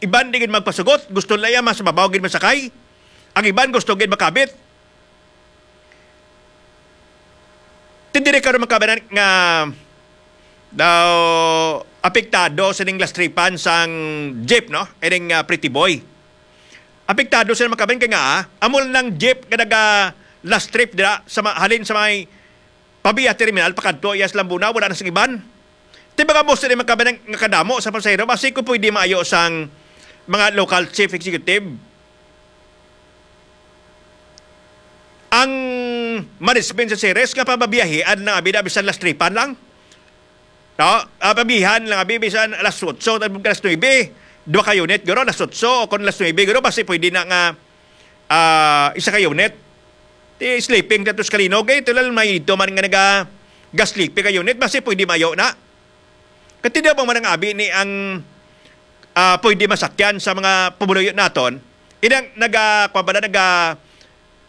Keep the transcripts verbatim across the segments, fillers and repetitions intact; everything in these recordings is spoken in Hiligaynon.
iban di gid magpasugot, gusto nila iya mas mabaw gid masakay. Ang iban gusto gid makabit. Ti diri karon, mga kabanan, nga daw apektado sining lastripan sang jeep, no? Ining, ah, Pretty Boy. Apektado sila, mga kabanan, kay nga, ah, amo lang jeep nga naga last trip dira sa ma-, halin sa may Pavia Terminal pakadto iya sa Lambunao, wala na sing iban. Ti mga bus diri, mga kabanan, nga kadamo sa pasahero, basi kung pwede maayo sang mga local chief executive ang management sa Ceres nga pababiyahian lang abi na bisan last tripan lang. No? Ah, pabihan lang abi bisan alas otso, alas nuebe. Duha ka unit, guro, alas otso, o kung alas nuebe, guro, basi pwede na nga, ah, isa ka unit. Ti sleeping tatos kalinog, eh, tulad may ito man nga naga-, ga-sleeping ka unit, basi pwede mayo na. Kati daw bang man ang abi ni ang, ah, pwede masakyan sa mga pumuluyo naton? Inang naga, kwa ba na, naga,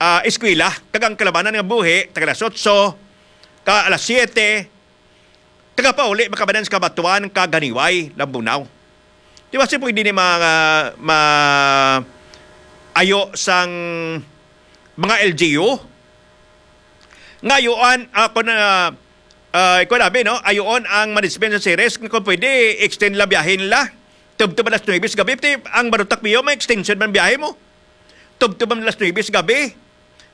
ah, eskwela, kag ang kalabanan nga buhi, taga alas otso, ka alas siyete, taga pauli, makabanan sa Kabatuan, kag Ganiway, Lambunao. Di ba si pwede ni mga, ma-, ayo sang mga L G U? Nga ayuan, ah, kung, ah, ah, ikaw labi, no? Ayuon ang management sa Ceres nga kung pwede, extend la biyahe nila. Tubtob alas nuebe sa gabi, ti ang barutak biyo, may extension man biyahe mo. Tubtob ang alas nuebe sa gabi.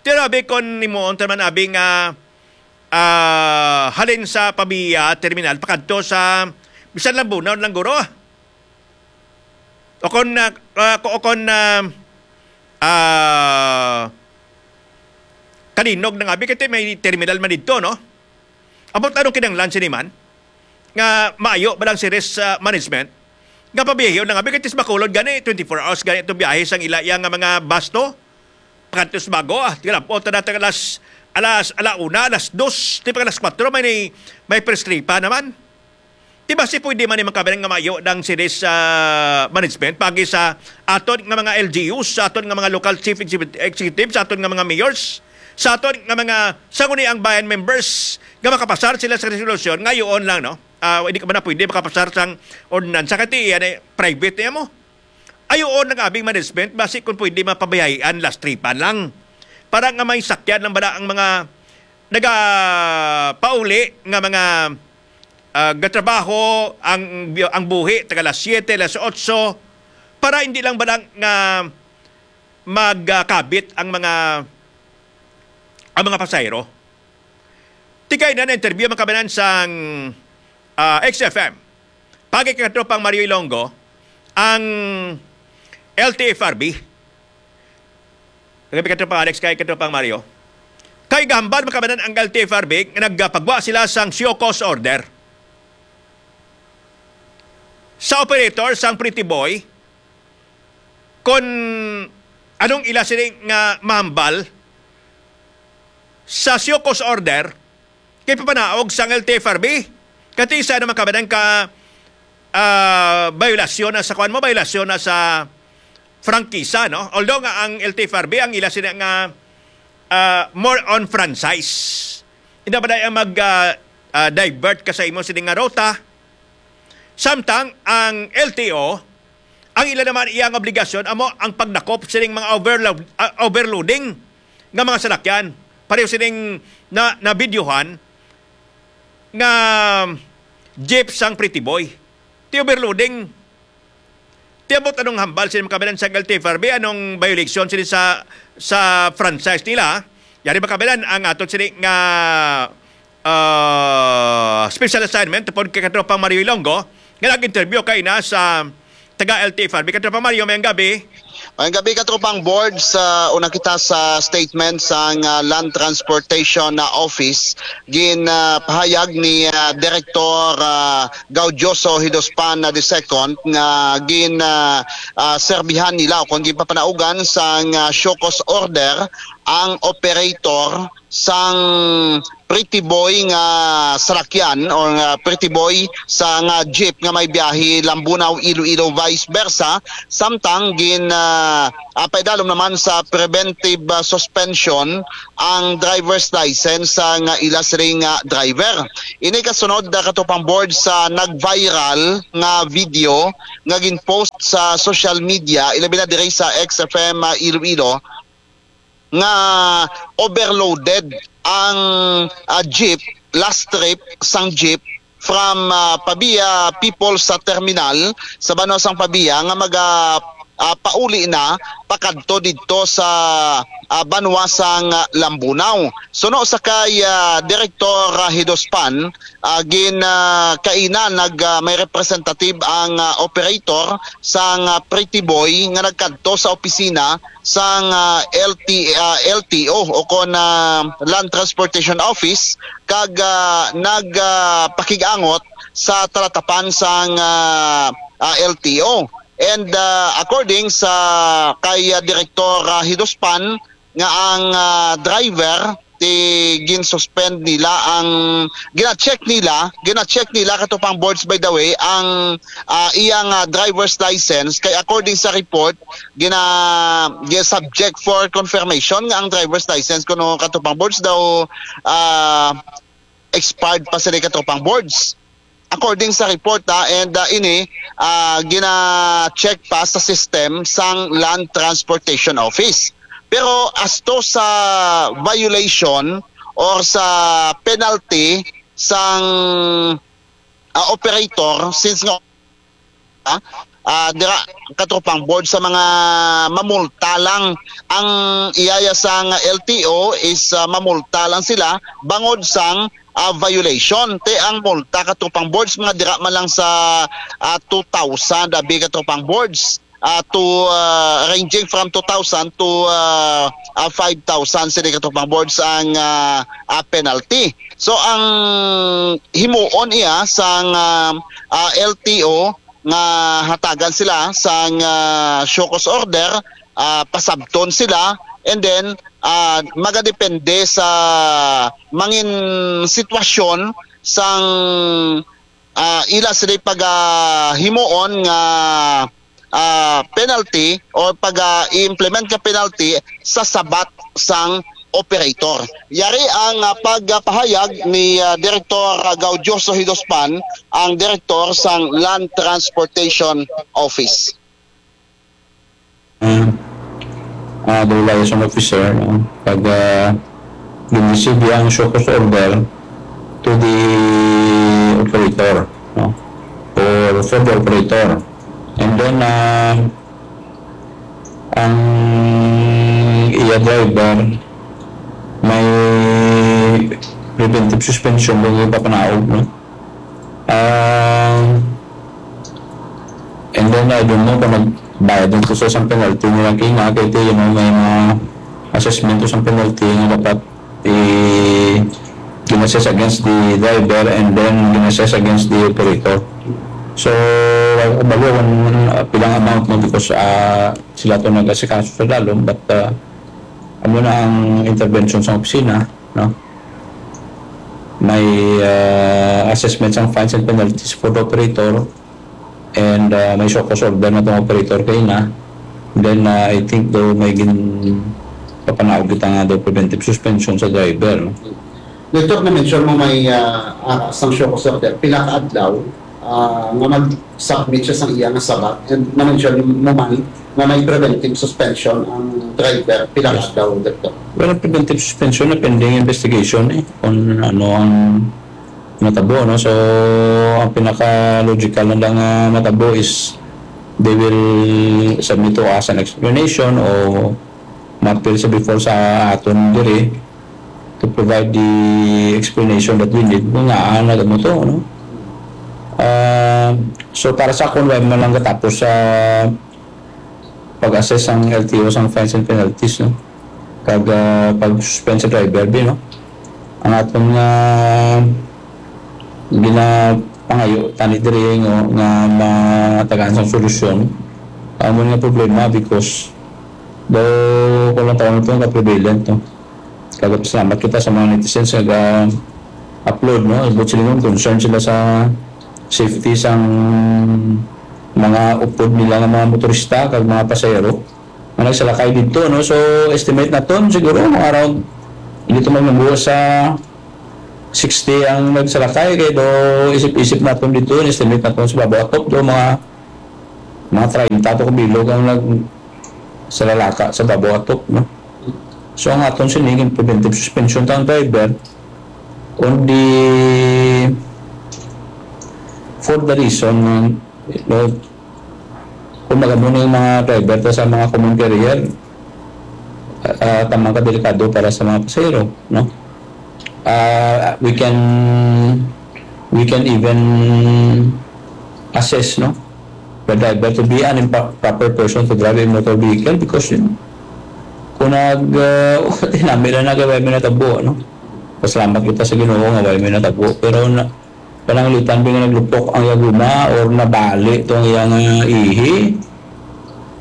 Ti labi kung himuon ta man abi nga, ah, halin sa Pavia Terminal, pakadto sa bisan Lambunao lang guro, ah. O kon, ah, ah, ko-, o kon, ah, ah, kalinog na nga abi, kay may terminal man didto, no? About anong kinahanglan sini man? Nga maayo ba lang si risk, ah, management? Nga pabiyahe na nga abi, kay tis Bacolod gani, twenty-four hours gani itong biyahe sang ila iya nga mga basto. Pagkadtos bago, ah, tinapot na natin alas, alas, ala una, alas dos, di pa alas kwatro, may, may press trip pa naman. Di ba si pwede man ni makabilang nga maayo ng series, ah, management pagi sa aton nga mga L G Us, sa aton nga mga local chief executive, executive, sa aton nga mga mayors, sa aton nga mga sangguniang bayan members nga makapasar sila sa resolusyon nga yun lang, no? Ah, hindi ka man na pwede makapasar sang ordinansa kasi yan ay private niya mo. Ayuon ang abing management, basi kung pwede mapabayahian last tripan lang. Para nga may sakyan lang bala ang mga nagapauli nga mga, ah, gatrabaho ang, ang buhi taga alas siyete, alas otso, para hindi lang bala nga magkabit ang mga, ang mga pasahero. Tikay na na-interview ang kabanan sang, ah, X F M. Pagi kay katropang Mario Ilonggo, ang L T F R B. Kagabi, katropang Alex, kay katropang Mario. Kay gahambal makabanan ang L T F R B nga nagpagwa sila sang show cause order sa operator sang Pretty Boy, kon anong ila sini nga mahambal sa show cause order kay papanaog sang L T F R B. Kati isa naman kabanan ka, ah, biolasyon na sa kuwan mo, biolasyon na sa prangkisa, no? Although nga ang L T F R B, ang ila sini nga, ah, more on franchise. Hindi ba na ang mag, ah, ah, divert ka sa imo sini nga ruta? Samtang ang L T O, ang ila naman iyang obligasyon amo ang pagdakop sining mga overload, ah, overloading nga mga salakyan. Pareho sining na, nabidyohan nga jeep sang Pretty Boy. Ti overloading. Ti abot anong hambal sini makabilan sa L T F R B, anong violation sini sa, sa franchise nila? Yari makabilan ang ato sini nga, ah, special assignment tupod kay katropang Mario Ilonggo nga nag-interview kay na sa taga L T F R B. Katropang Mario, may gabi. Ang gabi, katropang Board, sa una kita sa statement sang, ah, Land Transportation, ah, Office, gin, ah, pahayag ni, ah, Director, ah, Gaudioso Hidospan na the second nga gin, ah, ah, serbihan nila o kung ginpapanaugan sang, ah, show cause order ang operator sang Pretty Boy nga salakyan or nga Pretty Boy sa nga jeep nga may biyahe Lambunao, Iloilo, vice versa, samtang gin, ah, ah, paidalom naman sa preventive, ah, suspension ang driver's license sa nga ila siring nga driver. Ini kasunod, ah, katropang board, sa nag-viral nga video nga gin-post sa social media, ilabi na diri sa X F M, ah, Iloilo, nga overloaded ang, ah, jeep, last trip sang jeep from, ah, Pavia People sa terminal sa banwa sang Pavia nga maga, ah, pauli na pakadto didto sa, ah, banwa sang, ah, Lambunao. Suno sa kay, ah, Direktor, ah, Hidospan, ah, gin, ah, kaina nag, ah, may representative ang, ah, operator sang, ah, Pretty Boy nga nagkadto sa opisina sang, ah, L T, ah, L T O o kon, ah, Land Transportation Office kag, ah, nag, ah, pakig-angot sa talatapan sang, ah, ah, L T O. And, ah, according sa kay, ah, Direktor, ah, Hidospan, nga ang, ah, driver ti gin-suspend nila ang gina-check nila, gina-check nila, katropang boards, by the way, ang, ah, iyang, ah, driver's license, kay according sa report, gina, gina-subject for confirmation nga ang driver's license kuno, katropang boards, daw, ah, expired pa sila, katropang boards. According sa report, ha, and, ah, ini, ah, gina-check pa sa system sang Land Transportation Office. Pero as to sa violation or sa penalty sang, ah, operator, since nga, ah, ah, dira, katropang board, sa mga mamulta lang ang iyaya sang L T O is, ah, mamulta lang sila bangod sang, ah, violation. Te ang multa, katropang boards, mga dira man lang sa, ah, two thousand, abi, katropang boards, ah, to, ah, ranging from two thousand to, ah, ah, five thousand sini, katropang boards, ang, ah, ah, penalty. So ang himuon iya sang, ah, ah, L T O nga hatagan sila sang, ah, show cause order, ah, pasabton sila, and then, ah, magadepende sa mangin sitwasyon sang, ah, ila sila pagahimuon nga, ah, penalty or pag-i-implement nga penalty sa sabat sang operator. Yari ang, ah, pagpahayag ni, ah, Direktor, ah, Gaudioso Hidospan, ang direktor sang Land Transportation Office. Ah, ah, the liaison officer, no? Pag, ah, gin-receive ang show cause order to the operator, no? Or for the operator. And then, ah, ang iya driver may preventive suspension nga ipapanaog, no? Ah, and then, I don't know kung nagbayad na to sa isang penalty nila kina, kay, you know, may mga assessment to sa penalty nga dapat i-, gin-assess against the driver and then gin-assess against the operator. So, wala ko kabalo kung, ah, pilang amount, no, because, ah, sila to nag-asikaso sa dalom, but, ah, amo na ang intervention sa opisina, no? May, ah, assessment sang fines and penalties for the operator, and, ah, may show cause order na tong operator kay na. Then, ah, I think daw may gin-, papanaog kita nga daw preventive suspension sa driver, no? Doktor, na-mention mo may, ah, ah, sang show cause order, pila ka adlaw, ah, nga mag-submit siya sang iya nga sabat, and na-mention mo man nga may preventive suspension ang driver, pila ka Yes. adlaw, Doktor? Well, ang preventive suspension na pending investigation, eh, kung ano ang natabo, no? So, ang pinaka-logical na lang nga matabo is they will submit to us an explanation o ma-appeal sa before sa aton diri to provide the explanation that we need kung ngaa nagamo to, no? Ah, so, para sa akon, wala man lang katapos sa pag-assess ang L T O sang fines and penalties, no? Kag, ah, pag-suspend sa driver, bi, no? Ang aton nga ginapangayo tani diri nga, nga matagaan sang solusyon, amo nga problema because daw kung lang taon ito nga prevalent, no? Kag salamat kita sa mga netizens nga ga-upload, no? Buot silingon, concern sila sa safety sang mga upod nila nga mga motorista kag mga pasahero nga nagsalakay didto, no? So, estimate naton siguro mga around, hindi to magnabuo sa sixty ang nagsalakay, kay do isip-isip naton didto, estimate naton sa babaw atop do mga, mga treinta to kabilog ang nag-, sa lalaka sa babaw atop, no? So, ang aton sining preventive suspension tang driver, only for the reason nga, no, kung magamo na yung mga driver ta sa mga common carrier, ah, tamang kadelikado para sa mga pasahero, no? Ah, we can, we can even assess, no, the driver to be an impa-, proper person to drive a motor vehicle because, you know, kung nag, ah, tinami na nagaway may natabo, no? Pasalamat kita sa Ginoo nga way may natabo. Pero na, pananglitan ba nga naglupok ang iya guma or nabali to ang iya nga ihi?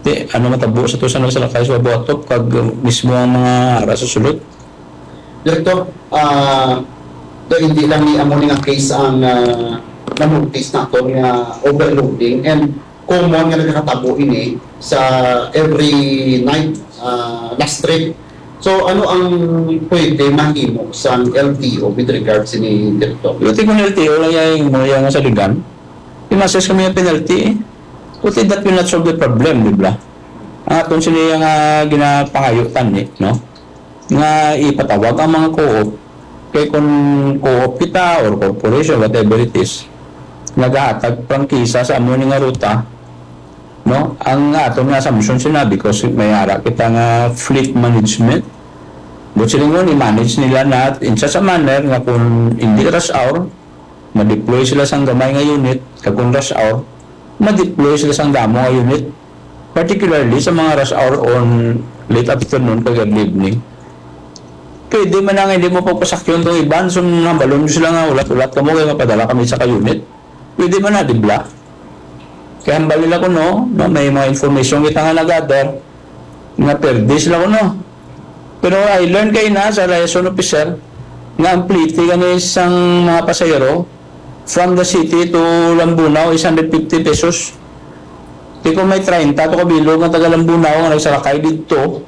Di, ano matabo sa to sa nagsalakay sa babaw atop kag mismo ang mga ara sa sulod? Direktor, ah, do hindi lang ni amo ni nga case ang, ah, na-notice naton nga overloading, and common nga nagakatabo ini sa every night, ah, last trip. So, ano ang pwede mahimo sang L T O with regards sini, Direktor? Pero ti kung L T O lang yang mo yang sa ligan, i-assess kami ang penalty, eh. But that will not solve the problem, di ba? Ang aton sini nga ginapangayo tani, no? Nga ipatawag ang mga co-op. Kay kung co-op kita or corporation, whatever it is, nagahatag prangkisa sa amo ni nga ruta, no? Ang aton nga assumption sina, because may ara kita nga fleet management. But silingon, i-manage nila na in such a manner nga kung hindi rush hour, ma-deploy sila sang gamay nga unit, kag kung rush hour, ma-deploy sila sang damo nga unit, particularly sa mga rush hour on late afternoon kag early evening. Pwede man nga hindi mo pagpasakyon tong iban, so hambalon mo sila nga ulat-ulat kamo kay mapadala kami sa ka-unit. Pwede man na, di ba? Kay hambal nila kuno, no, may mga information kita nga na-gather, nga perde sila kuno. Pero I learned kay na sa liaison officer nga ang plete gani sang mga pasahero from the city to Lambunao is hundred fifty pesos. Di ko may treinta to kabilog nga taga Lambunao nga nagsalakay didto,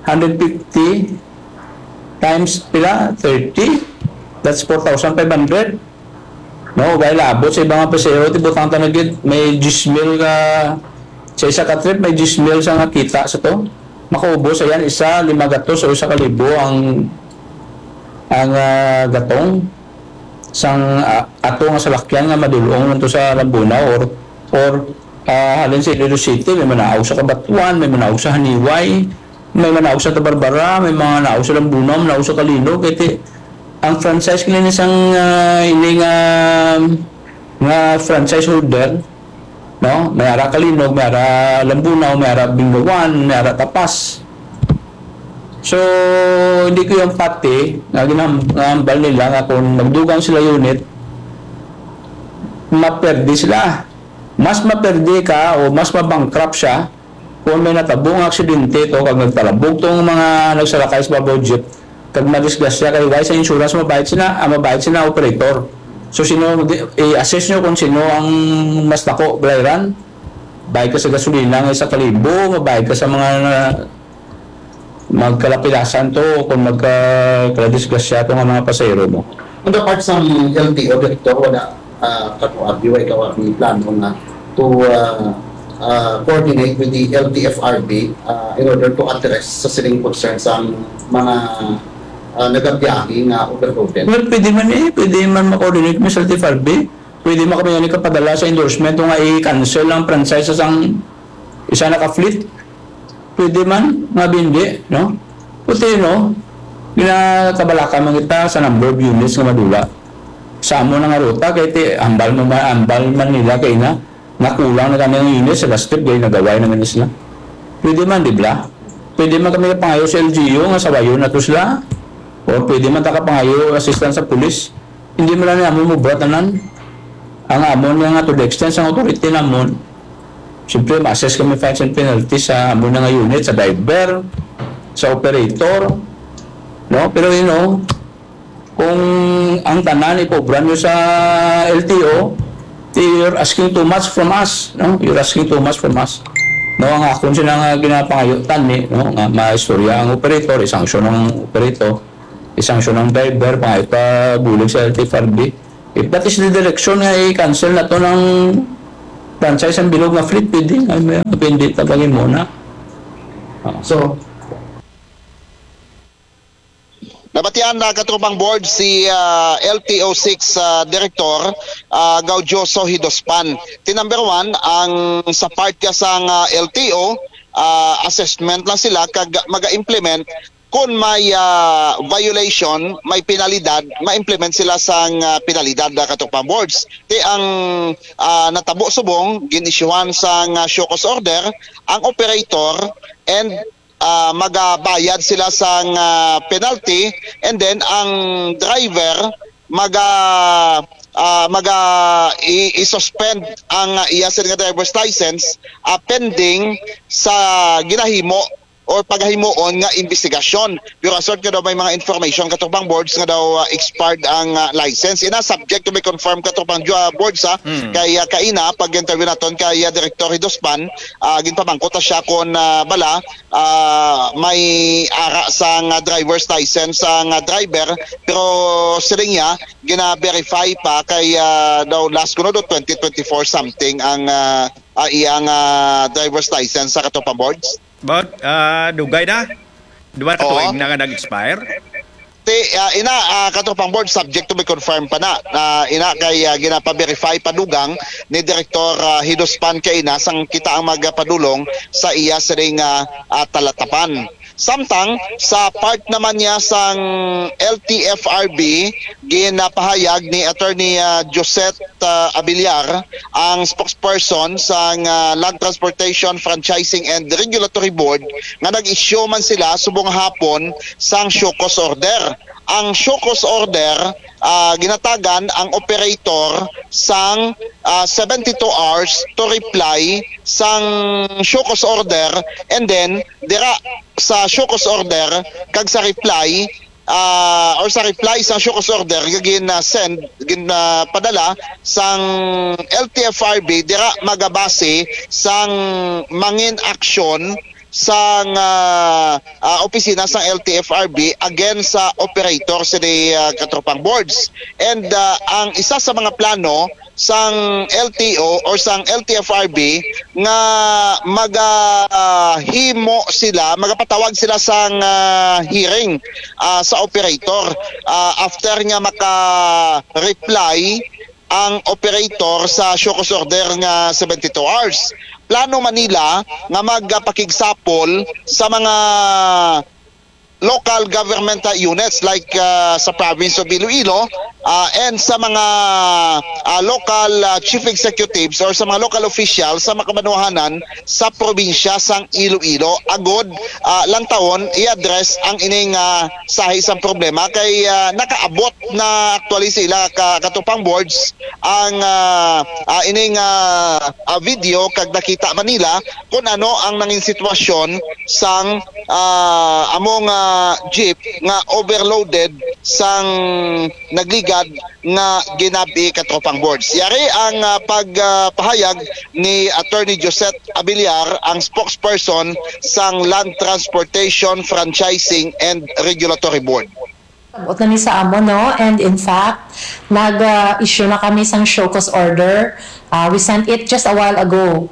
hundred fifty times pila? Thirty? That's four thousand five hundred. No, kay labot sa ibang pasahero, ti butang ta na gid, may diyes mil ka, sa isa ka trip, may diyes mil sa nga kita sa to. Makaubos, ayan, isa, lima gatos o isa ka libo ang, ang, ah, gatong sang, ah, ato nga salakyan nga madul-ong ngadto sa Lambunao or, or, ah, halin sa Iloilo City, may manaog sa Cabatuan, may manaog sa Janiuay, may manaog sa Santa Barbara, may mga naog sa Lambunao, naog sa Calinog, kay ti-, ang franchise nila ni sang, ah, ini nga, nga franchise holder, no? May ara Calinog, may ara Lambunao, may ara Bingawan, may ara Tapas. So, hindi ko yung pati nga ginam-, nga hambal nila nga kung magdugang sila unit, maperde sila. Mas maperde ka o mas mabankrupt siya kung may natabo nga aksidente to, kag nagtalabog tong mga nagsalakay sa babaw jeep, kag madisgrasya kay wala sa insurance, mabayad sila, ah, mabayad sila operator. So, sino, di, i-assess nyo kung sino ang mas dako, balayran. Bayad ka sa gasolina nga isa ka libo, mabayad ka sa mga na, magkalapilasan to, kung magka-, kaladisgrasya to nga mga pasahero mo. On the part sang L T O, Direktor, wala, ah, ka-, abi, way ka, abi plano nga to, ah, ah, coordinate with the L T F R B, ah, in order to address sa sining concern sang mga, ah, nagabiyahe nga overloaded? Well, pwede man eh, pwede man ma-coordinate mo sa L T F R B. Pwede man kami nga kapadala sa endorsement nga i-cancel ang franchise sang isa na ka fleet. Pwede man, nga bindi, no? Puti, no? Ginakabalaka man kita sa number of units nga madula sa amo na nga ruta, kay ti, hambal mo man, hambal man nila kay na, nakulang na kami ang units sa last trip, kay nagaway naman na sila. Pwede man, di ba? Pwede man kami pangayo sa L G U nga sawayon na to sila. Or pwede man ta kapangayo assistance sa pulis. Hindi man lang amo mo buhat tanan. Ang amon nga to the extent sa authority namon, siyempre, ma-assess kami fines and penalties sa amo na nga unit, sa driver, sa operator, No? Pero, you know, kung ang tanan ipobra nyo sa L T O, you're asking too much from us, no? You're asking too much from us. No, ang akon sila nga ginapangayo, tani, no, nga maistorya ang operator, isanksyon ang operator, isanksyon ang driver, pangayo pa bulig sa L T F R B. If that is the direction nga i-cancel na to ng franchise ang bilog nga fleet, pwede nga may pwede ta pag-imo na. So, Nabatian na, katropang board, si ah, L T O six ah, Director ah, Gaudioso Hidospan. Ti number one, ang sa part ka sang ah, L T O, ah, assessment lang sila kag maga-implement. Kung may ah, violation, may penalidad, ma-implement sila sang ah, penalidad na, katropang boards. Ti ang ah, natabo subong, gin-issuehan sang ah, show cause order ang operator, and ah, magabayad sila sang ah, penalty, and then ang driver maga ah, maga i- i-suspend ang ah, iya sila nga driver's license ah, pending sa ginahimo or pagahimuon nga investigasyon. Pero assured nga daw may mga information, katropang boards, nga daw ah, expired ang ah, license. Ina, subject to be confirmed, katropang jo- ah, boards, ha. Kay ah, kaina, pag-interview naton kay ah, Director Hidospan, ah, ginpamangkot ta siya kung ah, bala ah, may ara sang ah, driver's license sang ah, driver, pero siling niya, gina-verify pa kay ah, daw last kuno do twenty twenty-four something ang ah, ah, iyang ah, driver's license sa, katropang boards. But uh, dugay na. Duha ka Oo. Tuig na nga nag-expire. Ti ah, ina, ah, katropang board, subject to be confirmed pa na. Ah, ina, kay ah, ginapa-verify pa dugang ni Direktor ah, Hidospan kaina sang kita ang magapadulong sa iya sining ah, ah, talatapan. Samtang sa part naman niya sang L T F R B, ginapahayag ni Attorney ah, Josette ah, Abiliar, ang spokesperson sang ah, Land Transportation Franchising and Regulatory Board, nga nag-issue man sila subong hapon sang show cause order. Ang show cause order, ah, ginatagan ang operator sang ah, seventy-two hours to reply sang show cause order, and then dira sa show cause order kag sa reply ah, or sa reply sang show cause order nga gin-send, gin-padala sang L T F R B, dira magabase sang mangin aksyon sang ah, ah, opisina sang L T F R B against sa operator sini ah, katropang boards. And ah, ang isa sa mga plano sang L T O or sang L T F R B nga maga ah, himo sila, magapatawag sila sang ah, hearing ah, sa operator ah, after nga maka-reply ang operator sa show cause order nga seventy-two hours. Plano man nila nga magpakigsapol sa mga local government uh, units like uh, sa province of Iloilo uh, and sa mga uh, local uh, chief executives or sa mga local officials sa makabanwahanan sa probinsya sang Iloilo agod uh, lang taon i-address ang ining uh, sahi sang problema kay uh, nakaabot na actually sila ka katropang boards ang uh, uh, ining uh, uh, video kag nakita man nila kung ano ang nangin sitwasyon sang ah, among ah, jeep nga overloaded sang nagligad nga ginab-i katropang boards. Yari ang ah, pagpahayag ni Attorney Josette Abiliar, ang spokesperson sang Land Transportation Franchising and Regulatory Board. Abot na ni sa amo, no? And in fact, nag-issue na kami sang show cause order. Uh, we sent it just a while ago.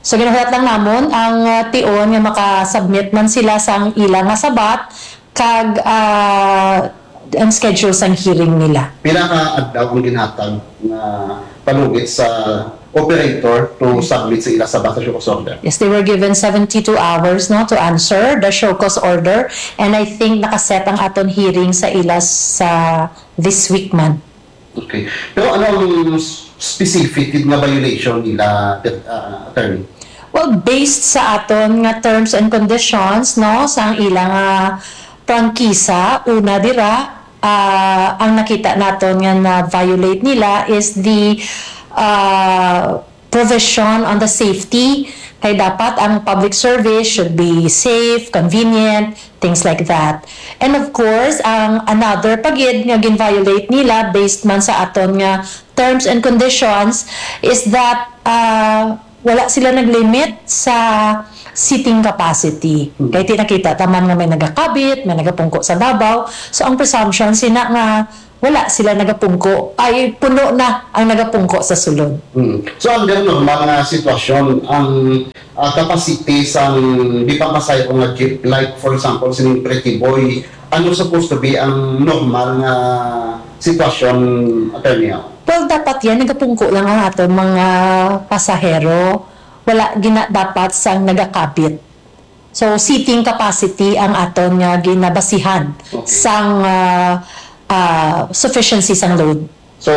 So ginahulat lang namon ang uh, tion nga maka-submit man sila sang ila nga sabat kag uh, ang schedule sang hearing nila. Pila ka adlaw ang ginhatag nga palugit sa operator to submit sa ila sa basa show cause order? Yes, they were given seventy-two hours, no, to answer the show cause order, and I think nakaset ang aton hearing sa ila sa this week man. Okay. Pero ano ang specific nga violation nila, uh, attorney? Well, based sa aton nga terms and conditions, no, sa ang ilang uh, prangkisa, una dira, uh, ang nakita naton nga na-violate nila is the uh, provision on the safety. Kay dapat ang public service should be safe, convenient, things like that. And of course, ang another pagid nga gin-violate nila based man sa aton nga terms and conditions is that, ah, wala sila nag-limit sa seating capacity. Hmm. Kay ti nakita taman nga may nagakabit, may nagapungko sa Davao. So, ang presumption sina nga wala sila nagapungko, ay puno na ang nagapungko sa sulod. Mm. So, under normal nga sitwasyon, ang, ah, capacity sang bisan pasahero nga jeep, like, for example, sining Pretty Boy, ano supposed to be ang normal nga sitwasyon, Attorney? Well, dapat yan, nagapungko lang ang aton mga pasahero. Wala gina dapat sang nagakabit. So, seating capacity ang aton nga ginabasihan Okay. sang, ah, ah, sufficiency sang load. So,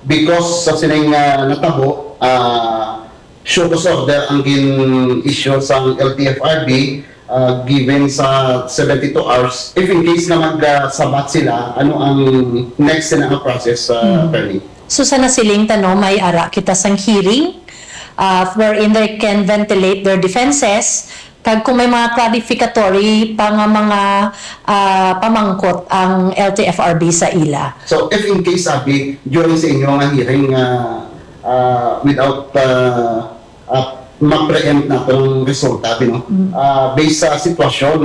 because sa sining, ah, natabo, ah, show cause order ang gin-issue sang L T F R B, ah, given sa seventy-two hours. If in case na magsabat sila, ano ang next na nga process, ah, Hmm. Attorney? So, sa nasiling ta, no, may ara kita sang hearing, ah, wherein they can ventilate their defenses. Kag kung may mga clarificatory pa nga mga, ah, pamangkot ang L T F R B sa ila. So, if in case, sabi, during sa inyo nga hearing, ah, ah, without, ah, ah, ma-preempt naton ang resulta, abi, no? Mm. Ah, based sa sitwasyon,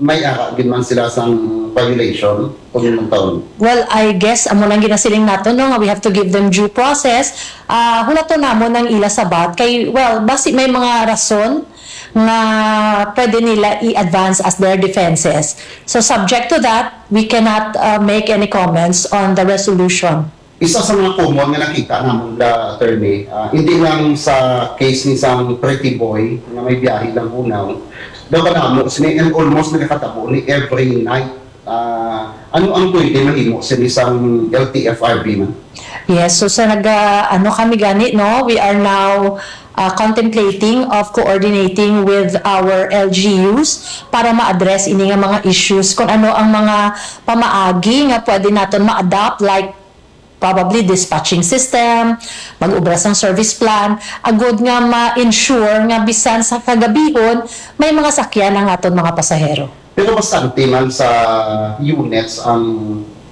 may ara gid man sila sang violation kung anong taon? Well, I guess, amo nang ginasiling nato, no, nga we have to give them due process. Ah, hulaton namon ang ila sabat kay, well, basi may mga rason nga pwede nila i-advance as their defenses. So, subject to that, we cannot, uh, make any comments on the resolution. Isa sa mga common nga nakita namon, la, Attorney, ah, hindi lang sa case ni sang Pretty Boy nga may biyahe Lambunaw, daw kadamo sini and almost nagakatabo ni every night. Ah, ano ang pwede mahimo sini sang L T F R B man? Yes, so sa naga-, ano kami gani, no? We are now, uh, contemplating of coordinating with our L G Us para ma-address ini nga mga issues, kung ano ang mga pamaagi nga pwede naton ma-adopt, like probably dispatching system, mag-obra sang service plan, agud nga ma-ensure nga bisan sa kagabihon, may mga sakyan ang aton mga pasahero. Pero bastante man sa units ang,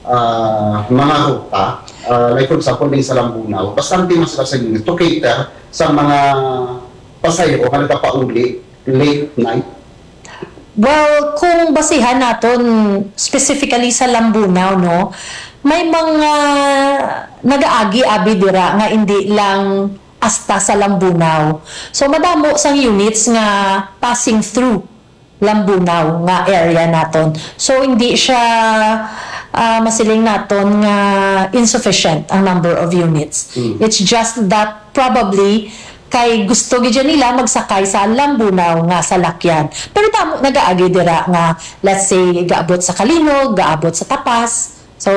ah, mga ruta. Ah, like for example, din sa Lambunaw, bastante man sila sa unit to cater sa mga pasahero nga nagapauli late night. Well, kung basihan naton specifically sa Lambunaw, no, may mga nagaagi abi dira nga indi lang hasta sa Lambunaw. So, madamo sang units nga passing through Lambunaw nga area naton. So, hindi siya, ah, masiling naton nga insufficient ang number of units. Mm. It's just that probably kay gusto gid nila magsakay sa Lambunaw nga salakyan. Pero damo nagaagi dira nga, let's say, gaabot sa Kalinog, gaabot sa Tapas. So,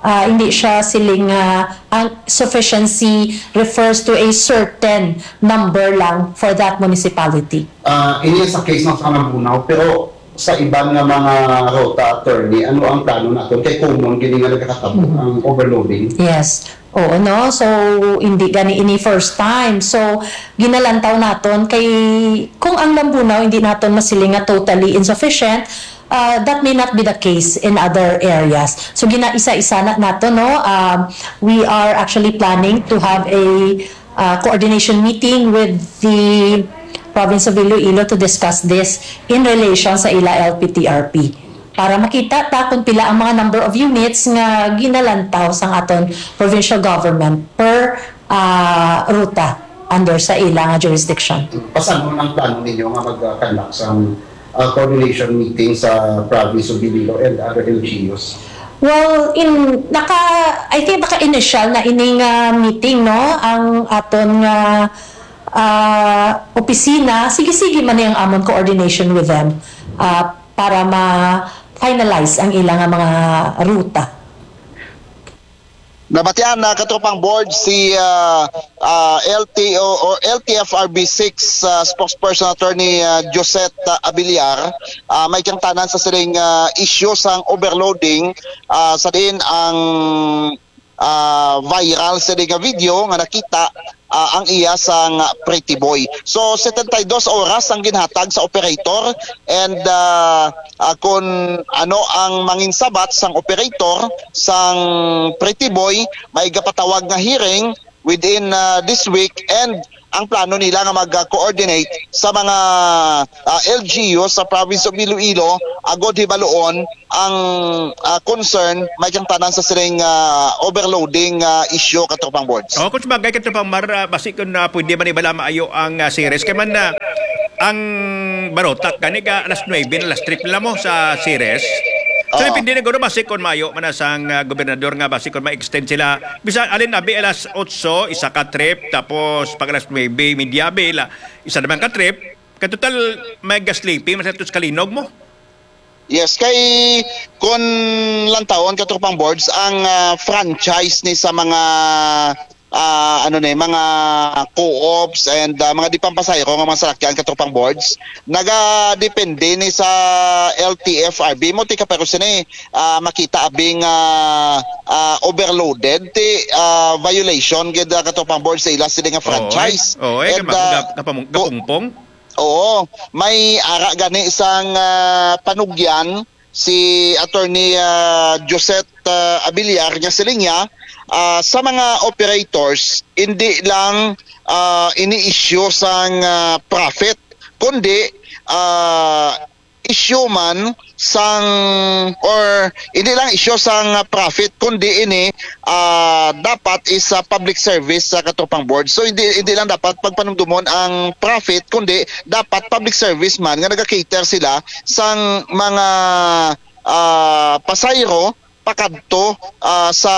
ah, hindi siya siling nga ang sufficiency refers to a certain number lang for that municipality. Ah, ini sa case ng sa Lambunaw, pero sa iban nga mga ruta, Attorney, ano ang plano naton? Kay common gini nga nagakatabo Mhm. ang overloading. Yes. Oo, no? So, hindi gani ini first time. So, ginalantaw naton kay kung ang Lambunaw hindi naton masiling nga totally insufficient, uh, that may not be the case in other areas. So, ginaisa-isa na nato, no? Um, we are actually planning to have a, uh, coordination meeting with the province of Iloilo to discuss this in relation sa ila L P T R P. Para makita ta kung pila ang mga number of units nga ginalantaw sang aton provincial government per, ah, ruta under sa ila nga jurisdiction. Paano ang plano ninyo nga mag-conduct sa, ah, coordination meeting sa province of Iloilo and other L G Us? Well, in, naka, I think naka-initial na ini nga meeting, no? Ang aton nga, ah, opisina, sige-sige man ni ang amon coordination with them, ah, para ma-finalize ang ila nga mga ruta. Nabatian na, katropang board, si, ah, ah, L T O or L T F R B six, ah, spokesperson attorney, ah, Josette, ah, Abiliar, ah, may kangtanan sa siling, ah, issue sang overloading, ah, sa diin ang ah, viral sini nga video nga nakita, ah, ang iya sang pretty boy. So, setenta y dos oras ang ginhatag sa operator, and, ah, ah, kun ano ang manginsabat sang operator sang pretty boy, may gapatawag nga hearing within, ah, this week, and ang plano nila nga mag-coordinate sa mga, ah, L G U sa province of Iloilo agod hibaluon ang, ah, concern may kang tanan sa sining, ah, overloading, ah, issue, Katropang Boards. Oh, kung sabagay, Katropang Mar, ah, basi kung, ah, pwede man ibala maayo ang, ah, series. Kay man, ah, ang barotak gani ka alas nuebe na, last trip nila mo sa series. So, Oo. Depende na guro basi kung maayo man na sang, ah, gobernador nga basi kung ma-extend sila. Bisan alin abi alas otso, isa ka trip, tapos pag alas nuebe, media abi, la, isa naman ka trip. Kay total, may ga-sleeping, mas atos kalinog mo. Yes, kay kun lantawon, Katropang Boards, ang, ah, franchise ni sa mga, ah, ano ni, mga co-ops and, ah, mga di pampasahero nga mga salakyan, Katropang Boards, nagadepende ni sa L T F R B mo, tika, pero sini, ah, makita abing, ah, ah, overloaded ti, ah, violation gid, ah, Katropang Boards, sa ila sini nga Oo, eh. franchise. Oo, eh, And, kapa-, ah, kapa-, kapamung-, ku- kapungpong? Oo, may ara gani sang, ah, panugyan si Attorney, ah, Josette, ah, Abiliar nga siling niya, ah, sa mga operators, hindi lang, ah, ini-issue sang, ah, profit, kundi, ah, issue man sang, or hindi lang issue sang, ah, profit, kundi ini, ah, dapat is, ah, public service sa, Katropang Boards. So, hindi, hindi lang dapat pagpanumdumon ang profit, kundi dapat public service man nga naga-cater sila sang mga, ah, pasahero pakadto, ah, sa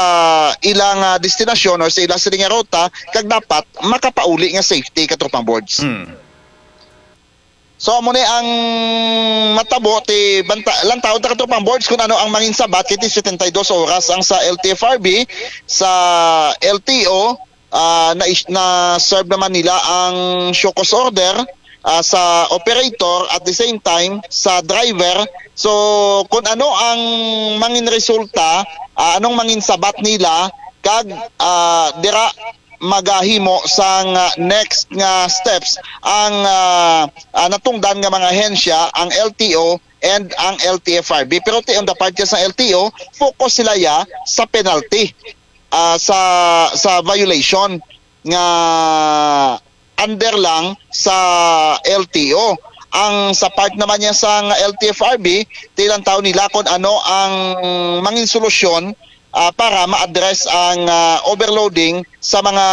ilang, ah, destinasyon or sa ilang sini nga ruta, kag dapat makapauli nga safety, Katropang Boards. Hmm. So, amo ni ang matabo ti banta, lantawon ta, Katropang Boards, kung ano ang manginsabat kay ti setenta y dos oras ang sa L T F R B, sa L T O, ah, na, na-serve naman nila ang show cause order, ah, sa operator, at the same time sa driver. So, kung ano ang mangin resulta, ah, anong manginsabat nila, kag, ah, dira magahimo sang, ah, next nga steps ang, ah, ah, natungdan nga mga ahensya, ang L T O and ang L T F R B. Pero ti on the part sa L T O, focus sila ya sa penalty, ah, sa, sa violation nga under lang sa L T O. Ang sa part naman niya sa L T F R B, tilantaw nila kung ano ang mangin solusyon, ah, para ma-address ang, ah, overloading sa mga,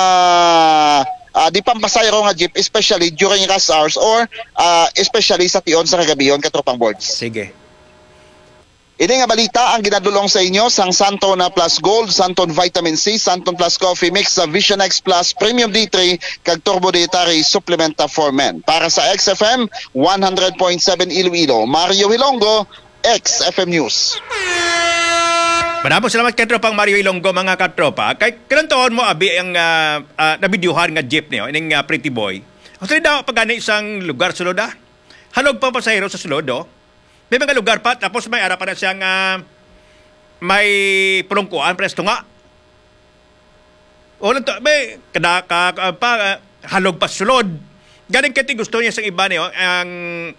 ah, di pampasahero nga jeep, especially during rush hours or, ah, especially sa tion sa kagabihon, Katropang Boards. Sige. Ini nga balita ang ginadulong sa inyo sang Santon na Plus Gold, Santon Vitamin C, Santon Plus Coffee Mix, sa Vision X Plus Premium D three, kag Turbo Dietary Supplementa for Men. Para sa X F M one hundred point seven Iloilo, Mario Hilongo, X F M News. Madamo salamat, Katropang Mario Ilonggo, mga katropa. Kay kanang taon mo, abi, ang, ah, ah, nabidyuhan nga jeep niyo, ining, ah, pretty boy. Actually, daw pa gani sang lugar sulod, ah. Halog pang pasahero sa sulod, oh. May mga lugar pa, tapos may ara pa na siyang, ah, may pulungkuan, pares tunga. O lang to, may kada ka, ka- pa, ah, halog pa sulod. Galing kay ti gusto niya sa iba niyo, ang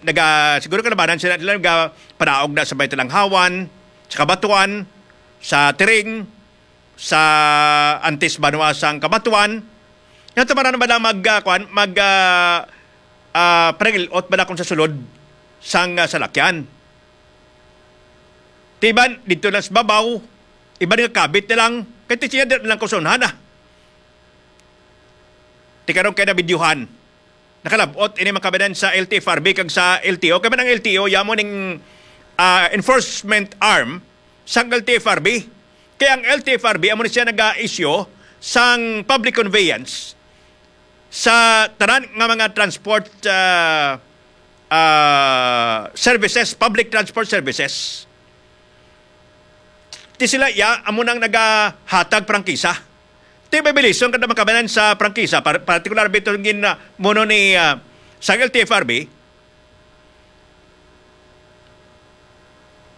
naga, siguro kalabanan sila, nila naga panaog na sa may talanghawan, sa kabatuan, sa tiring, sa antis banwa sang kabatuan. Nga tamaran ba lang mag, ah, kuan, mag, ah, ah, parang ilot ba lang kung sa sulod sang, ah, salakyan? Ti iban, dito lang sa babaw, iban nga kabit na lang, kay ti siya di lang kusunhan, ah. Ti karon kay nabidyuhan. Nakalabot ini mga kabanan sa L T F R B kag sa L T O. Kay man ang L T O, yamo ning, ah, enforcement arm sang L T F R B. Kay ang L T F R B, amo ni siya naga-issue sang public conveyance sa tanan nga mga transport, ah, ah, services, public transport services. Ti sila iya amo nang nagahatag prangkisa. Ti may violation kada makabanan sa prangkisa, par-, partikular bito gin, ah, muno ni, ah, sa L T F R B,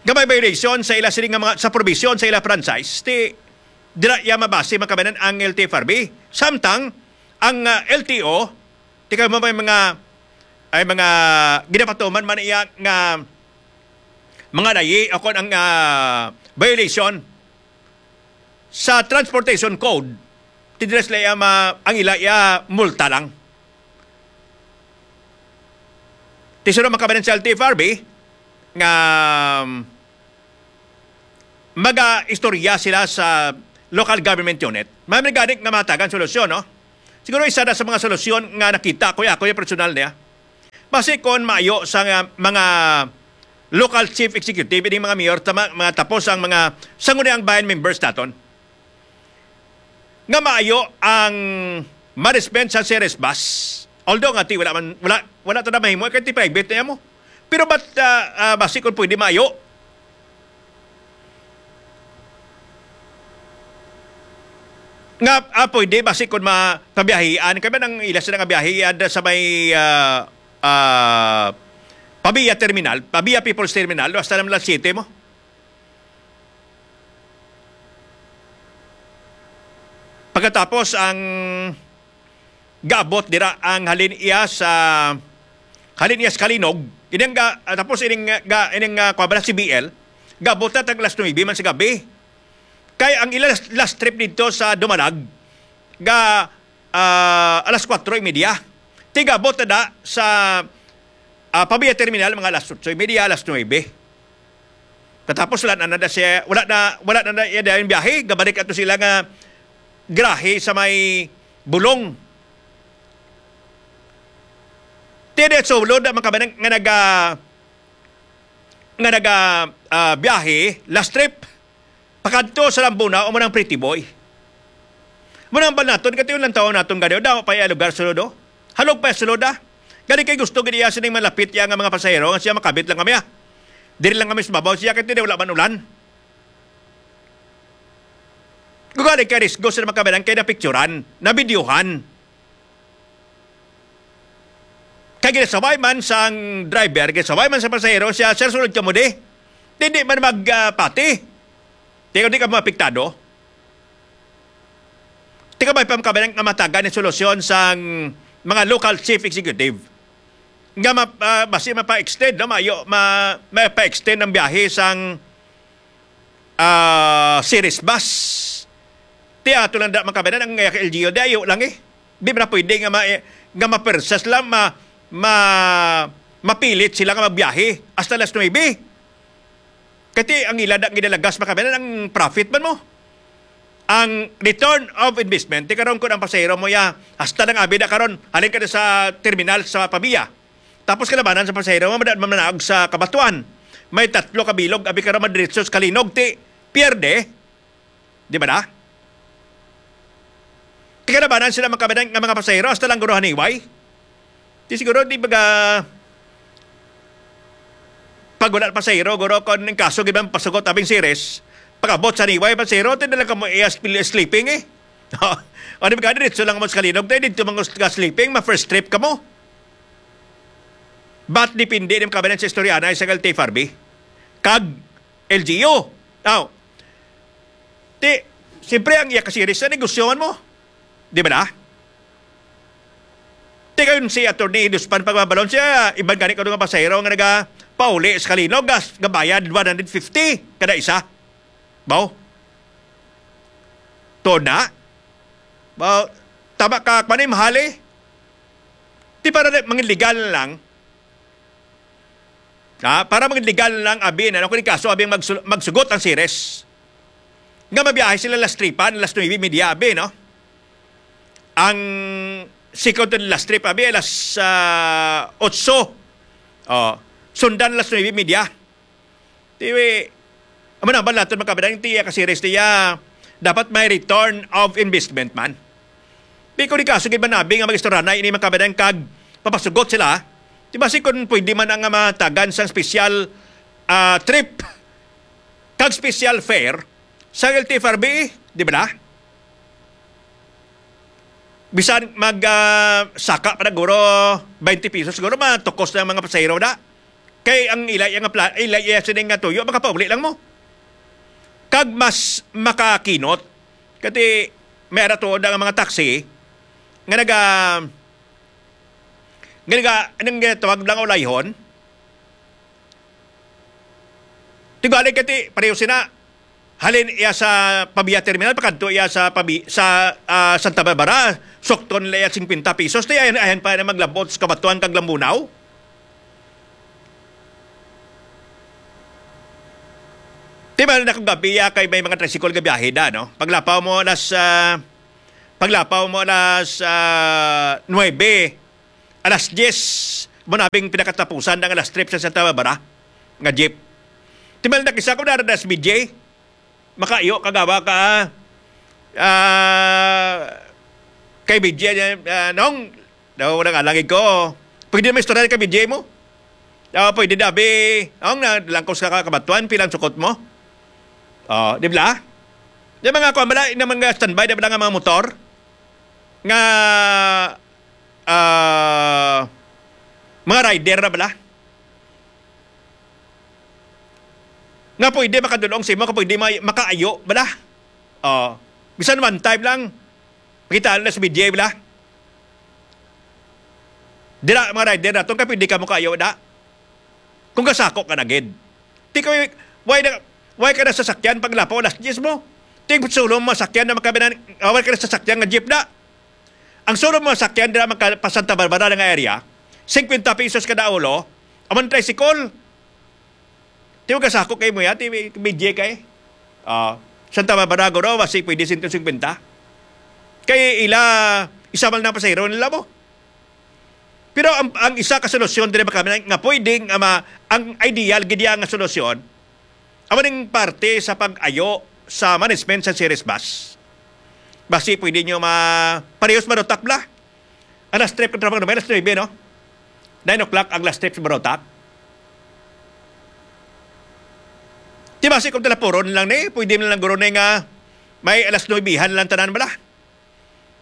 nga may violation sa ila sini nga mga, sa provision sa ila franchise, ti Dira iya mabase, mga kabayan, ang L T F R B. Samtang ang, ah, L T O, ti kay mo may mga, ay mga ginapatuman man iya nga mga layi o kon ang, ah, violation sa transportation code, ti dira sila iya ma-, ang ila iya multa lang. Ti sino, mga kabayan, sa L T F R B nga, um, mag-istorya sila sa local government unit. May gani nga matagan solusyon, no? Siguro isa na sa mga solusyon nga nakita ko, ako yung personal niya. Basi kon maayo sa nga mga local chief executive, ining mga mayor, tama, mga tapos ang mga sangguniang bayan members naton, nga maayo ang management sa Ceres Bus. Although nga ti wala man, wala, wala ta na mahimo kay ti private na mo. Pero but, ah, ah, basi kung pwede maayo nga, ah, pwede basi kung ma-, pabiyahian kay man ang ila sila nga biyahe, ah, sa may, ah, ah, Pavia Terminal, Pavia People's Terminal, hasta lang City mo. Pagkatapos ang gaabot dira ang halin iya sa, halin iya sa Kalinog. Ining ga, ah, tapos ining, ah, ga, ining, ah, kuwan ba na, C B L, gaabot na tag alas nuebe man sa gabi. Kay ang ila last, last trip dito sa Dumalag, ga, ah, alas kwatro y media. Tigabot na da sa, ah, Pavia Terminal, mga alas otso y media, alas nuebe. Katapos wala na, na siya, wala na, wala na, na iya dayon biyahe, gabalik ato sila nga grahe sa may Bulong. Tini sulod ang mga kabayan nga naga-, nga naga, ah, biyahe, last trip, pakadto sa Lambuna, o mo nang Pretty Boy. Mo nang bal naton, katiyon lang taon naton gani, daw pa iya lugar sulod, oh. Halog pa iya sulod, ah. Gani kay gusto gid iya sining malapit iya nga mga pasahero, nga siya makabit lang kami, ah. Diri lang kami sa babaw siya, kay tini wala man ulan. Gugali kay risgo sa mga kabayan kay napicturan, nabidyohan. Kay ginasabay man sang driver, ginasabay man sa pasahero siya, "Sir, sulod ka mo di." Di, di man mag, ah, pati. Di, di ka maapektado. Di ka may pamkabayan nga matagan ni solusyon sang mga local chief executive. Nga ma-, ah, basi mapa-extend, no? Mayo, ma-, mapa-extend ang biyahe sang, ah, Ceres Bus. Ti ato lang da makabanan ang, eh, L G U. Di ayo lang, eh. Di ba na pwede nga ma-, eh, nga mapersas lang, ma-, ma-, mapilit sila nga magbiyahe hasta alas nuebe? Kati ang ila da ginalagas makabanan ang profit man mo. Ang return of investment, ti karon kun ang pasahero mo ya, hasta nang abi na karon, halin ka na sa terminal sa Pavia. Tapos kalabanan sa pasahero mo, madad mamanaog sa Kabatuan. May tatlo ka bilog, abi karon madiretso sa Kalinog, ti pierde. Di ba na? Ti kalabanan sila makabanan nga mga pasahero, hasta lang guro haniway. Di siguro, di baga, pag wala pasahero, guro, kung ang kaso gid man pasugot abing Ceres, pag-abot sa haniway, pasahero, ti na lang kamo iya sp-, sleeping, eh. O, di ba, diretso lang mo sa Kalinog, tayo dito mga ka sleeping, ma-first trip ka mo. But depende din kabanan sa istorya na sa L T F R B. Kag L G U. Now, ti, siyempre, ang iya ka Ceres na negosyohan mo. Di ba na? Ti kayon si Attorney Iduspan pagbabalon siya, iban gani karon nga pasahero nga naga pauli sa Kalinog, gas, gabayad one hundred fifty kada isa. Baw? Tuod na? Baw, tama ka, kwan, eh, mahal, eh. Ti para na, mangin legal na lang. Ha? Para mangin legal na lang, abi, ano, kung kaso, abi, magsul-, magsugot ang Ceres. Nga mabiyahe sila last tripan, last nuebe media, abi, no? Ang second to the last trip, abi, alas, ah, otso. Oh, sundan alas nuebe media. Ti, amo na ba naton makabanan ti iya ka Ceres ti iya, dapat may return of investment man. Di ko di kaso gid manabi nga mag-istoryanay ini makabanan kag papasugot sila. Di ba si kun pwede man ang matagan sang special, ah, trip kag special fare sa L T F R B, di ba na? Bisan mag, ah, saka pa na guro twenty pesos, siguro matukos na ang mga pasahero na. Kay ang ila iya nga pla-, ila iya sining nga tuyo, makapauli lang mo. Kag mas makakinot, Kati, may ara tuod ang mga taxi nga naga, nga naga, anong ginatawag lang, ulayhon? Tigali kati, pareho sina, halin iya sa Pavia Terminal, pakadto iya sa Pavi-, sa, ah, Santa Barbara, sukton nila iya singkwenta pesos, ti ayan, ayan pa na maglabot sa Cabatuan kag Lambunao. Di ba na kung gabi, ah, kay may mga tricycle nga biyahe da, no? Paglapaw mo alas, ah, paglapaw mo alas, ah, nuebe, alas diyes, mo nabing pinakatapusan ang alas trip sa Santa Barbara nga jeep. Di ba na kisa kung nara na si B J? Makaayo, kagawa ka, ah, kay B J, ah, nung, daw, nang alangig ko. Pwede na istorya kay B J mo? Ah, pwede, dabi. Ang na, langkos ka, ka Cabatuan, pilang sukot mo? Oh, di ba? Di ba nga, kuwan, bala, yung mga standby, di ba nga mga motor? Nga, ah, mga rider na bala? Nga pwede makadulong sa imo, nga pwede may, makaayo bala? Oh, bisan one time lang, makita na sa B J bala? Dira, mga rider naton, ka pwede ka mo kaayo, da? Kung kasako ka na gid. Ti kay, why na, why ka na sasakyan paglapaw alas diyes mo? Ti sulod mo sasakyan na makabinan, ah, why ka na sasakyan nga jeep na? Ang sulod mo sasakyan dira maka-, pa Santa Barbara nga area, singkwenta pesos kada ulo, amon tricycle. Ti mo kasako kay mo ya, ti B J kay. Ah, Santa Barbara guro, basi pwede sento singkwenta. Kay ila, isa man na pasahero nila mo. Pero ang, ang isa ka solusyon diri ba kami nga pwedeng, ama, ang ideal gid iya nga solusyon, amo ning parte sa pag-ayo sa management sa Ceres Bus. Basi pwede nyo ma-, parehas marutak bala. Ang last trip ng Trabang Dumay, alas nuebe, no? Nine o'clock ang last trip sa Barotac. Di ba, si kung talapuron lang ni, pwede na lang guro ni nga may alas nuebehan lang tanan bala.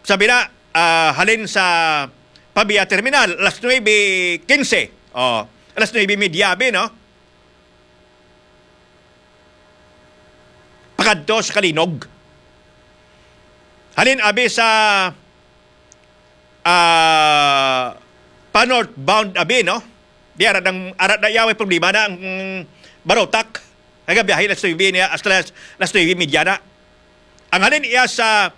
Sabi na, ah, halin sa Pavia Terminal, alas nuebe quince. Oh, alas nuebe media, abi, no? Pakadto sa Kalinog. Halin, abi, sa, ah, pa northbound, abi, no? Di, ara nang, ara na iya, may problema na ang Barotac. Kaya biyahe alas nuebe niya, hasta alas, alas nuebe media na. Ang halin iya sa,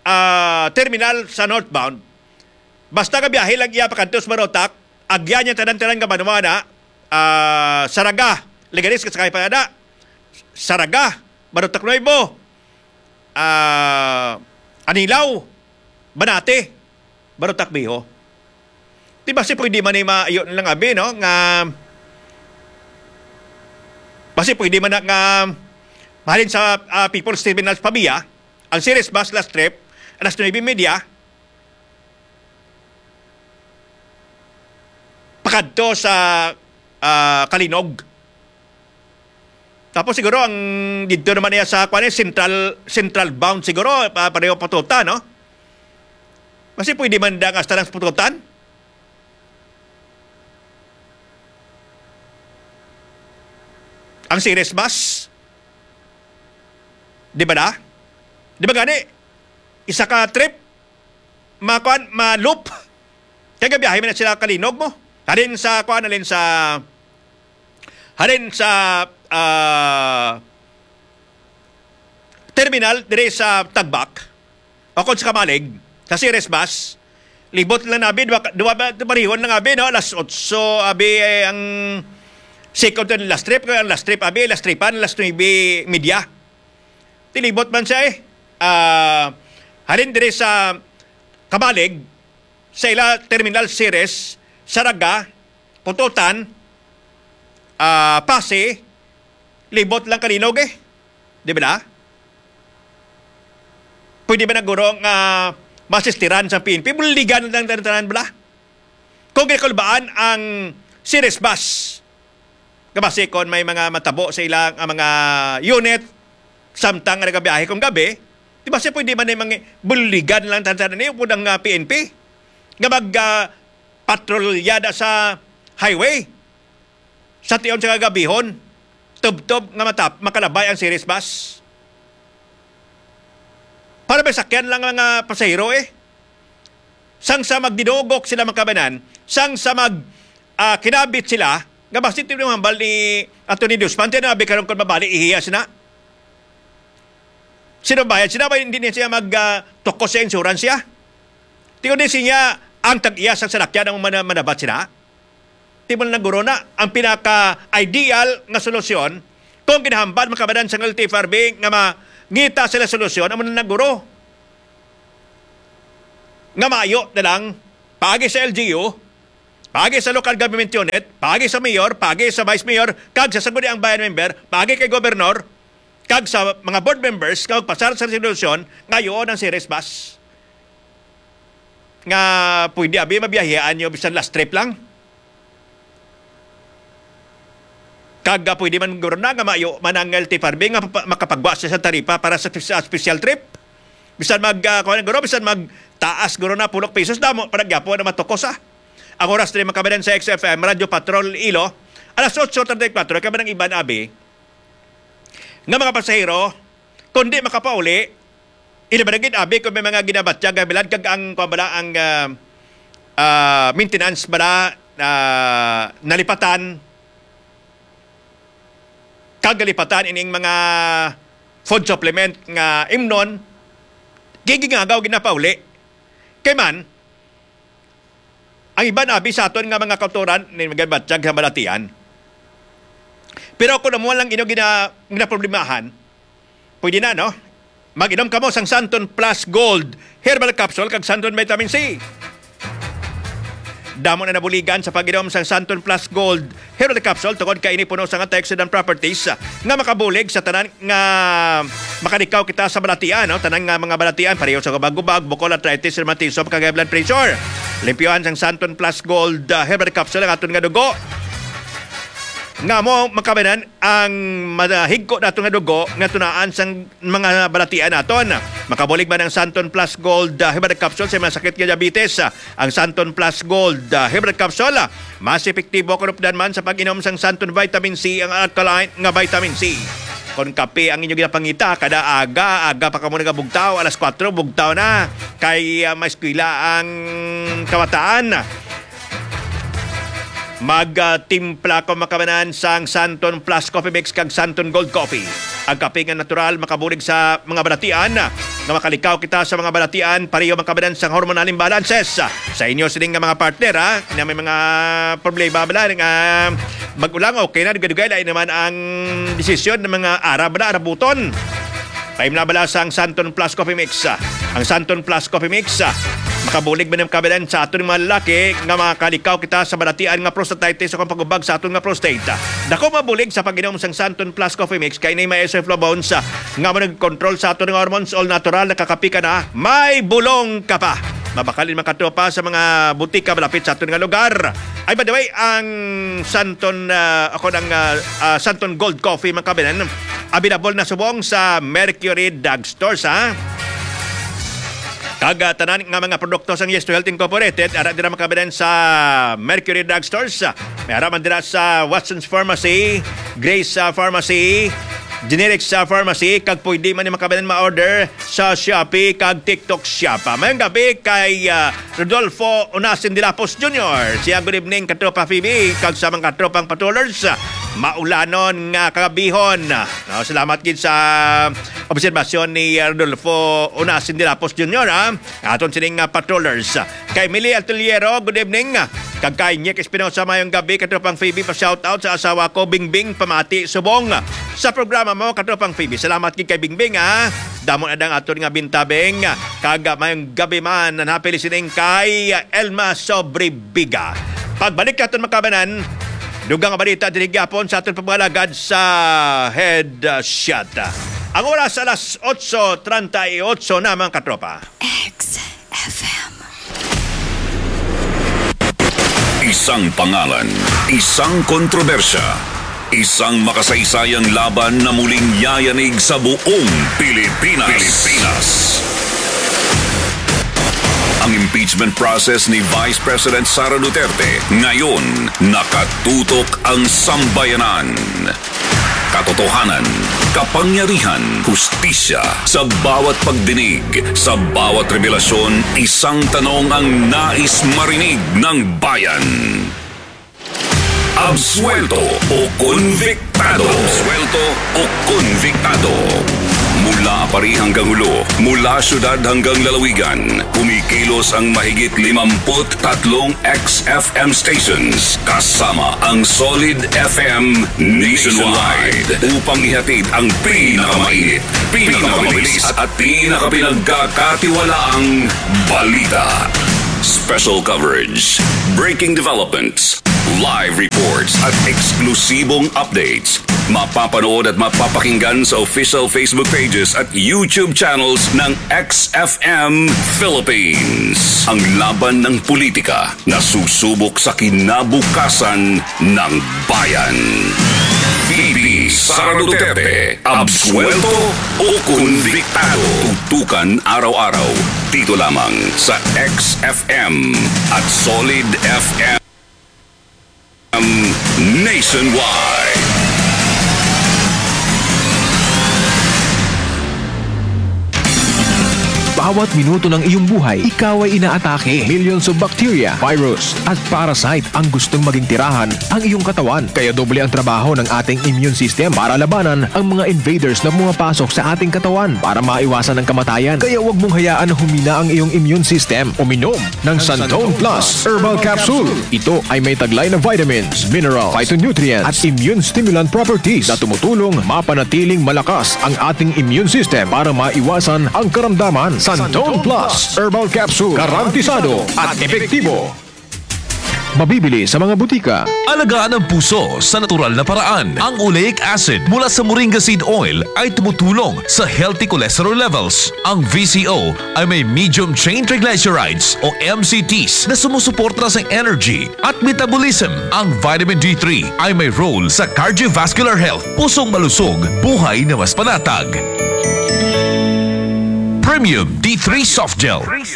ah, terminal sa northbound, basta nga biyahe lang iya pakadto sa Barotac, agya niya tanan-tanan nga banwa na, ah, Saraga, Leganes, kasakay pa na, Saraga, Barotac Nuevo, ah, Anilao, Banate, Barotac Viejo. Di ba si pwede man ni maayo lang, abi, no? Nga, basi pwede man na nga mahalin sa, ah, People's Terminal sa Pavia, ang Ceres Bus last trip, alas nuebe media, pakadto sa, ah, Kalinog. Tapos siguro ang dito naman niya sa, kwan, eh, central, central bound siguro, pa-, pareho Pototan, no? Kasi pwede man da nga hasta lang sa Pototan. Ang Ceres Bus. Di ba na? Di ba gani? Isa ka trip, ma-, kwan, ma-loop. Kaya gabiyahe man na sila Kalinog mo. Halin sa, kwan, halin sa, halin sa, ah, terminal, dire sa Tagbak, o kung sa Kamalig, sa Ceres Bus, libot lang na, abi, duwa, duwa ba, parihon lang, abi, no? Alas otso, abi, eh, ang second and last trip, kaya ang last trip, abi, last tripan, alas nuebe media. Tilibot man siya, eh. Ah, halin dire sa Kamalig, sa ila terminal Ceres, Saraga, Pototan, ah, Pasi, libot lang Kalinog, eh. Di ba na? Pwede ba na guro nga masistiran sa P N P? Buligan lang tanan-tanan bala. Kung ginakulbaan ang Ceres Bus, nga basi kon may mga matabo sa ilang, ah, mga unit, samtang nga nagabiyahe kung gabi, di ba siya pwede man yung mga buligan lang tanan-tanan niyo, pud ang, ah, P N P, nga mag, ah, patrolya da sa highway. Sa tion sa kagabihon, tubtob nga matap-, makalabay ang Ceres Bus. Para may sakyan lang ang mga pasahero eh. Sang sa magdinugok sila, mga kababayan, sang sa mag, ah, kinabit sila, nga basi ito yung hambal ni Attorney Dusman, tinabi karon kung mabali, ihiya sila. Sino bayad? Sino ba hindi niya siya mag, ah, tukos sa insurance siya? Tingnan din siya, ang tag-iya sang salakyan ang mana-, manabat sila. Di mo na guro na ang pinaka-ideal nga solusyon kung ginahambal, mga kababayan, sang L T F R B nga mangita sila solusyon, amo na naguro nga maayo na lang paagi sa L G U, paagi sa local government unit, paagi sa mayor, paagi sa vice mayor, kag sa sangguniang bayan member, paagi kay gobernador, kag sa mga board members nga magpasar sa resolusyon nga ayoon ang series bus. Nga pwede abi mabiyahean nyo bisan last trip lang. Kag, ah, pwede man guro na nga maayo man ang L T F R B nga papa-, makapagwa siya sa taripa para sa, sa special trip. Bisan mag, ah, kuwan guro, bisan magtaas guro na pulok pesos, damo pa na gyapon na matukos, ah. Ang oras diri, mga kababayan, sa X F M Radyo Patrol Ilo, alas otso treinta y cuatro, kay man ang iban abi nga mga pasahero, kung di makapauli, ila ba na gid abi kung may mga ginabatyag nga bilad kag ang, kuwan bala, ang, ah, ah, maintenance bala, ah, nalipatan, kag nalipatan ining mga food supplement nga imnon, gigingagaw ginapauli. Kay man, ang iban abi sa aton nga mga kautoran ni magabatyag sa balatian. Pero kung amo lang inyo gina-, ginaproblemahan, pwede na, no? Mag-inom kamo sang Santon Plus Gold Herbal Capsule kag Santon Vitamin C. Damo na nabuligan sa pag-inom sang Santon Plus Gold Herbal Capsule tungod kay ini puno sang antioxidant properties, ah, nga makabulig sa tanan nga makalikaw kita sa balatian, no? Tanan nga mga balatian, pareho sa gubag-gubag, bukol, arthritis, rheumatism, kag high blood pressure. Limpyohan sang Santon Plus Gold, ah, Herbal Capsule ang aton nga dugo. Nga mo makabanan ang madahigko nato nga dugo nga tunaan sang mga balatian naton. Makabulig man ang Santon Plus Gold, ah, Herbal Capsule sa mga sakit nga diabetes. Ang Santon Plus Gold, ah, Herbal Capsule, ah, mas epektibo kung updan man sa pag-inom sang Santon Vitamin C, ang alkaline nga vitamin C. Kung kape ang inyo ginapangita, kada aga, aga pa kamo nagabugtaw, alas kuwatro, bugtaw na. Kay, ah, may eskwela ang kabataan. Mag, ah, timpla ko makabanan sang Santon Plus Coffee Mix kag Santon Gold Coffee. Ang kape nga natural makabulig sa mga balatian, nga makalikaw kita sa mga balatian, pareho makabanan sang hormonal imbalances. Sa inyo sining nga mga partner, ha, na may mga problema bala nga mag-ulang, okay na, dugay-dugay, lain naman ang desisyon ng mga Arab na Arabuton. Paimla bala sang Santon Plus Coffee Mix. Ang Santon Plus Coffee Mix, ah, makabulig man ang kabalan sa aton mga lalaki nga makalikaw kita sa balatian nga prostatitis o kung pagubag sa aton nga prostate. Dako mabulig sa pag-inom sang Santon Plus Coffee Mix kay ni may isoflavones, ah, nga mo nag-control sa aton nga hormones, all natural, nakakapi ka na, may bulong ka pa. Mabakalin makatropa sa mga butika malapit sa aton nga lugar. Ay, by the way, ang Santon, ah, ako ng, ah, ah, Santon Gold Coffee, mga kababayan, available na subong sa Mercury Drug Stores, ha? Kag, ah, tanan nga mga produkto sang Yes to Health Incorporated, ara dira makababayan sa Mercury Drug Stores. May ara man dira sa Watson's Pharmacy, Grace, ah, Pharmacy, Generics, ah, Pharmacy, kag pwede man ni makababayan ma-order sa Shopee kag TikTok Shop. Ah, mayong gabi kay, ah, Rodolfo Unasin Dilapos Junior. Siya, good evening, katropa Phoebe, kag sa mga katropang patrollers. Maulanon nga kagabihon. No, salamat gid sa obserbasyon ni Rodolfo Unasin Dilapos Junior, ha? Aton sining, ah, patrollers. Kay Mili Altoliero, good evening. Kag kay Nick Espinosa, mayong gabi, katropang Phoebe, pa-shoutout sa asawa ko, Bingbing, pamati, subong sa programa mo, katropang Phoebe. Salamat gid kay Bingbing, ha. Damo na dang aton nga bintabing. Kag, ah, mayong gabi man, nanapil sining kay Elma Sobrebiga. Pagbalik naton makabanan, dugang nga balita diri gyapon sa aton pagpangalagad sa Headshot. Ang oras alas otso treinta y ocho na, mga katropa. X F M. Isang pangalan, isang kontrobersya, isang makasaysayang laban na muling yayanig sa buong Pilipinas. Pilipinas. Ang impeachment process ni Vice President Sara Duterte, ngayon nakatutok ang sambayanan. Totohanan, kapangyarihan, hustisya. Sa bawat pagdinig, sa bawat revelasyon, isang tanong ang nais marinig ng bayan. Absuelto o konbiktado? Absuelto o konbiktado? Mula pari hanggang hulo, mula syudad hanggang lalawigan, kumikilos ang mahigit limampu't tatlong X F M stations, kasama ang Solid F M nationwide, upang ihatid ang pinakamainit, pinakamabilis, at pinakapinagkakatiwalaang balita. Special coverage, breaking developments, live reports, at eksklusibong updates. Mapapanood at mapapakinggan sa official Facebook pages at YouTube channels ng X F M Philippines. Ang laban ng politika na susubok sa kinabukasan ng bayan. V P Sara Duterte, absuelto o konbiktado? Tutukan araw-araw dito lamang sa X F M at Solid F M nationwide. Bawat minuto ng iyong buhay, ikaw ay inaatake. Millions of bacteria, virus, at parasite ang gustong maging tirahan ang iyong katawan. Kaya doble ang trabaho ng ating immune system para labanan ang mga invaders na pumapasok sa ating katawan para maiwasan ang kamatayan. Kaya huwag mong hayaan na humina ang iyong immune system. Uminom ng Santon Plus Herbal Capsule. Ito ay may taglay na vitamins, mineral, phytonutrients, at immune stimulant properties na tumutulong mapanatiling malakas ang ating immune system para maiwasan ang karamdaman. Santon Plus Herbal Capsule, garantisado at epektibo. Mabibili sa mga butika. Alagaan ang puso sa natural na paraan. Ang oleic acid mula sa moringa seed oil ay tumutulong sa healthy cholesterol levels. Ang V C O ay may medium chain triglycerides o M C Ts na sumusuporta sa energy at metabolism. Ang vitamin D three ay may role sa cardiovascular health, pusong malusog, buhay na mas panatag. Premium D three Soft Gel. Wins